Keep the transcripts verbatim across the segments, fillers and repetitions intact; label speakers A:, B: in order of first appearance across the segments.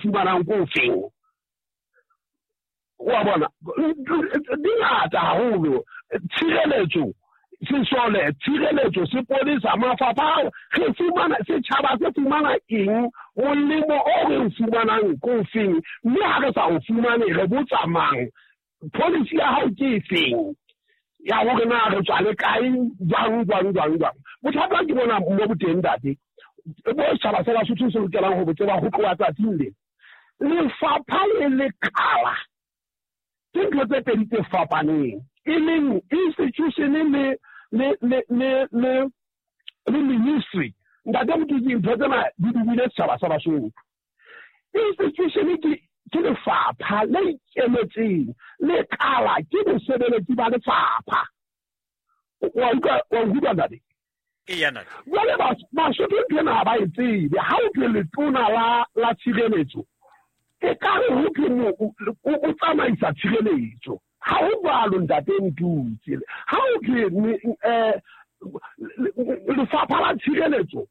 A: fumanang ko feng? Wa bona, di ngata haholo. Tshireletso, sesole, tshireletso, sepolesa, mafapha, re fumana, setjhaba se fumana eng, molemo o re o fumanang ko feng, mme ha re sa o fumane re botsa mang? Policy ya hao ke efeng ya hore na re tswa le kae, jwang, jwang, jwang, jwang? Bothata ke bona mo boteng, ntate, bo setjhaba sa Basotho se lokelang ho bo tseba ho tloha tsatsing le. Lefapha le lekala ke ntho tse pedi tse fapaneng, e leng institution le le le le le le ministry. Ntate Motutsi, ntho tsena di dubile setjhaba sa Basotho. Institution ke ke lefapha le ikemetseng, lekala ke bosebeletsi ba lefapha. Wa utlwa, wa utlwa ntate?
B: Eya, ntate.
A: Jwale Basotho ntho ena ha ba e tsebe. Ha o thwe letona la la tshireletso, e ka re ho thwe o tsamaisa tshireletso. Ha ho jwalo, ntate Motutsi. Ha o thwe lefapha la tshireletso,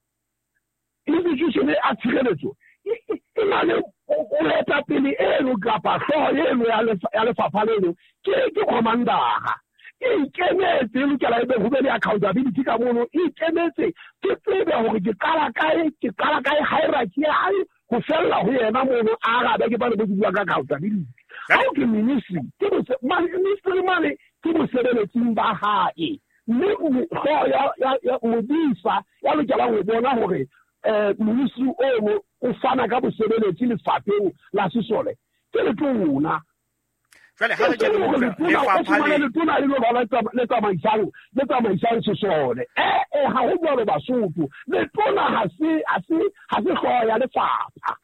A: institution ya tshireletso e na le moetapele eno kapa hlooho eno ya lefapha leno ke ke commander-a. E ikemetse, e lokela ebe ho be le accountability ka mono. E ikemetse, ke tsebe hore ke qala kae, ke qala kae hierarchy ya hae ho fella ho yena mono, a arabe. Ke bane bo bua ka accountability. Ha o ke ministry, ke ministry mane ke bosebeletsing ba hae, mme hlooho ya ya modisa ya lokelang ho bona hore ministry ono o fana ka bosebeletsi lefapheng la sesole ke letona.
B: Jwale ha re kene mo lefapha
A: le letona le lo ba le tsamaisang le tsamaisang sesole. Eh eh ha ho jwalo Basotho. Letona ha se ha se ha se hlooho ya lefapha.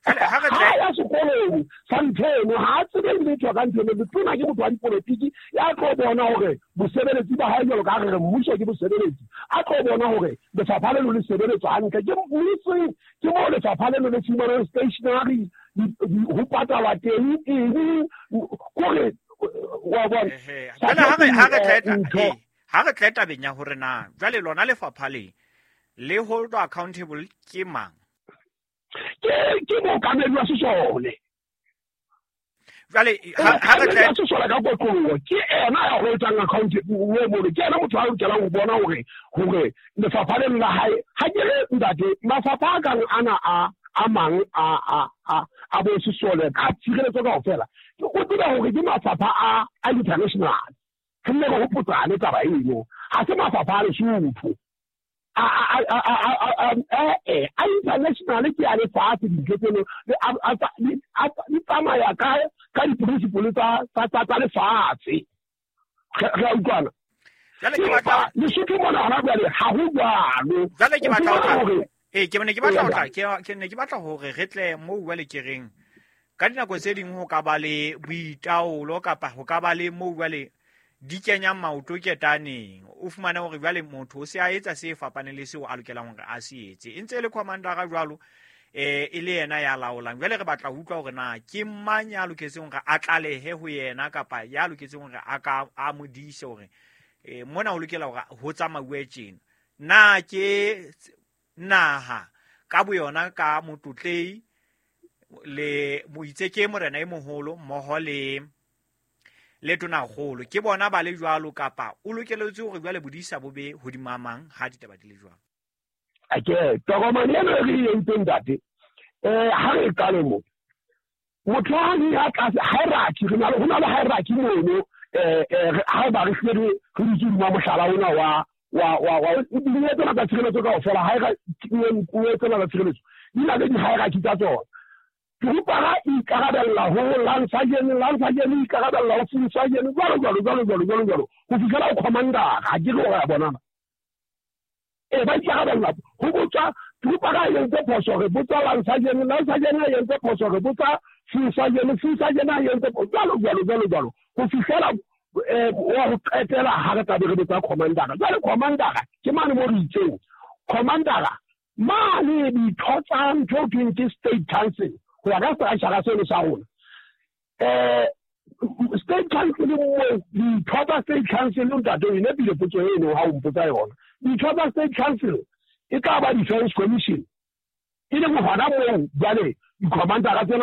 B: Jwale ha re
A: tle ya sekolong sa ntho ha tsebe letho ka ntho. Letona ke motho wa dipolotiki ya tlo bona hore bosebeletsi ba hae, jwalo ka re mmuso ke bosebeletsi, a tlo bona hore lefapha le le sebeletswa hantle. Ke ministry, ke mo lefapha le le fumanang stationery, ho patalwa teng eng, kore wa bona.
B: Jwale ha re ha re tle ha re tle tabeng ya hore na jwale lona lefapha le le hold accountable ke mang?
A: Ke ke mookamedi wa sesole.
B: Jwale ha re tle
A: sesole ka kotloloho, ke ena ya holdang accountable mono, ke ena motho a lokelang ho bona hore hore lefapha leno la hae. Ha ke re ntate, mafapha a kang ana a a mang a a a a bo sesole ka tshireletso kaofela, o tsebe hore ke mafapha a a international. Re nne re hopotsane taba eno, ha se mafapha a Lesotho. A a a a a a international ke a lefatshe. Dintho tseno di tsamaya ka ka di-principle tsa tsa tsa lefatshe. Re a utlwana?
B: Jwale ke batla
A: Lesotho mona hona jwale ha ho jwalo.
B: Jwale ke batla hore ee ke ne ke batla ho tla ke ne ke batla hore re tle moo jwale ke reng ka dinako tse ding ho ka ba le boitaolo kapa ho ka ba le moo jwale di kenyang maoto ketaneng. O fumane hore jwale motho o se a etsa se fapaneng le seo a lokelang hore a se etse, e ntse e le commander-a jwalo, eh e le yena ya laolang. Jwale re batla ho utlwa hore na ke mang ya loketseng hore a tlalehe ho yena kapa ya loketseng hore a ka a mo dise hore eh mona ho lokela hore ho tsamauwe tjena. Na ke naha ka boyona ka motlotlei le moitseke morena e moholo mmoho le le tonakgolo, ke bona ba le jwalo, kapa o lokeletse hore jwale bodisa bo be hodima mang ha ditaba di le jwalo?
A: Ake tokomane ena re e entseng, ntate, eh ha re qale mo motho a le ya tlase hierarchy, re na le ho na le hierarchy mono. Eh eh ha ba re hlile re dutse hodima mohlala ona wa wa wa wa dinyewe tsena tsa tshireletso kaofela, hierarchy tsena tsa tshireletso di na le di-hierarchy tsa tsona. Trooper e ikarabella ho lance sergeant, lance sergeant e ikarabella ho full sergeant, jwalo jwalo jwalo jwalo jwalo jwalo ho fihlela ho commander. Ha ke re hore ya bonana e ba ikarabella ho botsa trooper a entse phoso, re botsa lance sergeant, lance sergeant a entse phoso, re botsa full sergeant, full sergeant a entse phoso, jwalo jwalo jwalo jwalo ho fihlela wa ho qetela ha re tlabe re botsa commander. Jwale commander ke mane mo re itseng commander mane ditho tsa ntho ho thweng ke state council ho ya ka structure seno sa rona. Eh state council mo ditho tsa state council, ntate, o nepile potso eno ha o mpotsa yona. Ditho tsa state council e tla ba defense commission, e leng hona moo jwale di-commander tsena